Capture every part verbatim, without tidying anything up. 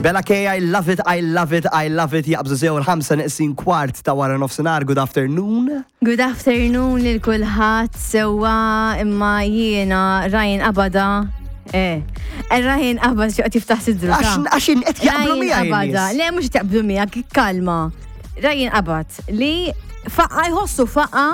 Bella K, I love it, I love it, I love it. Jaqbżu sew il-ħamsa neqsin kwart ta' wara nofsinhar. Good afternoon. Good afternoon lil kulħadd. Sewwa, imma jiena Ryan qabadha. Eh, Ryan qabad xi qed jiftaħ sidru. Għax għax qed jaqblu Ryan miegħi qabadha. n-nies. Le, mhux jaqblu miegħek, kalma. Ryan qabad li faqa jħossu faqa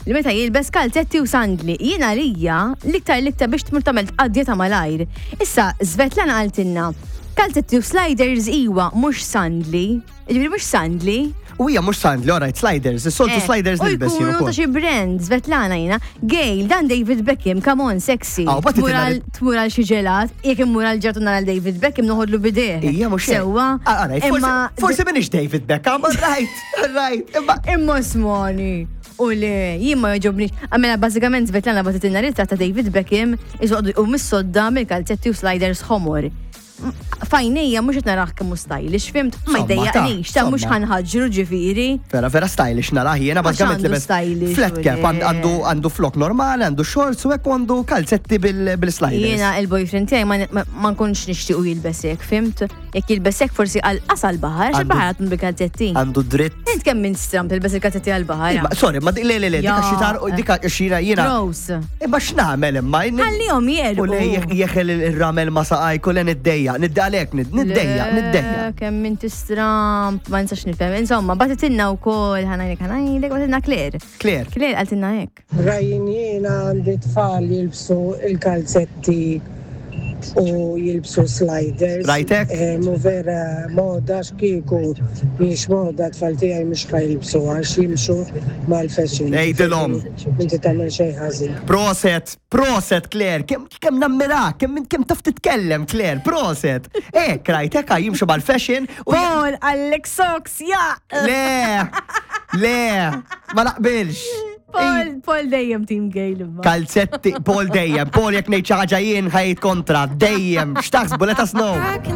li meta jilbes kalzetti u sandli. Jiena lija l-iktar l-iktar biex tmur tagħmel tqaddja ta' malajr. Issa Svetlana qaltilna kalzetti u sliders iwa, mhux sandli. Ġifieri mhux sandli. U hija mhux sandli, alright, sliders, is-soltu Eh, sliders u nilbes jien jkunu ta' ukoll. xi brand, Svetlana jiena. Gail, dan David Beckham, come on, sexy. Ah, u bagħti Tmur tilna għal- Tmur għal xi ġelat, jekk immur għal ġelat u nara David Beckham noħodlu bideh. Ija mhux hekk. Sewwa. Ah, alright, forsi- Imma Forsi minix David Beckham, alright, alright. Imma Imma smoni. U le, jien ma jogħġobnix. Għamela bażikament Svetlana bagħtitilna ritratt ta' David Beckham iżoqdu u mis-sodda mill-kalzetti u sliders ħomor. F'għajnejja mhux qed narah kemm hu stylish, fhimt? Ma Somma, jdejjaqnix, ta' mhux somma. ħa nħaġġru ġifieri. Vera, vera stylish narah jiena Għax bażikament għandu libes stylish, flat u cap, le. għand- għandu għandu flok normali, għandu shorts u hekk u għandu kalzetti bil- bil-sliders. Jiena il-boyfriend tiegħi ma, ma, ma nkunx nixtiequ jilbes hekk, fhimt? Jekk jilbes hekk forsi għal qasal baħar, għax Għandu- il-baħar għatun bil-kalzetti. Għandu dritt. Int kemm minn stram tilbes il-kalzetti għal-baħar. Ma- Sorry, ma di- le le le, dika Ja. xitar, dika xira jiena. Gross. Imma x'nagħmel imma? Ħallihom jerqu. U le jeħel il-ramel ma saqaj kull niddejja, niddalek, niddejja, niddejja. Kemm inti stramp, ma nistax nifhem. Insomma, bagħtitilna wkoll ħa ngħidlek ħa ngħidlek bagħtitilna Claire. Claire. Claire qaltilna hekk. Ryan, jiena għandi tfal jilbsu il-kalzetti u jilbsu sliders. Rajtek? Eh, Mu vera moda xkiku, miex moda tfal tiegħi mhux ħa jilbsu għax jimxu mal-fashion. Għidilhom. Inti tagħmel xejn ħażin. Proset, proset Claire, kemm kemm nammirak, kemm kemm taf titkellem Claire, proset. Ek, rajtek, jimxu mal-fashion u Paul, għallek socks, ja! Le, le, ma naqbilx. Paul, Paul dejjem team Gail imma. Kalzetti, Paul dejjem, Paul jekk ngħid xi ħaġa jien ħajt kontra, dejjem, x'taħsbu, let us know.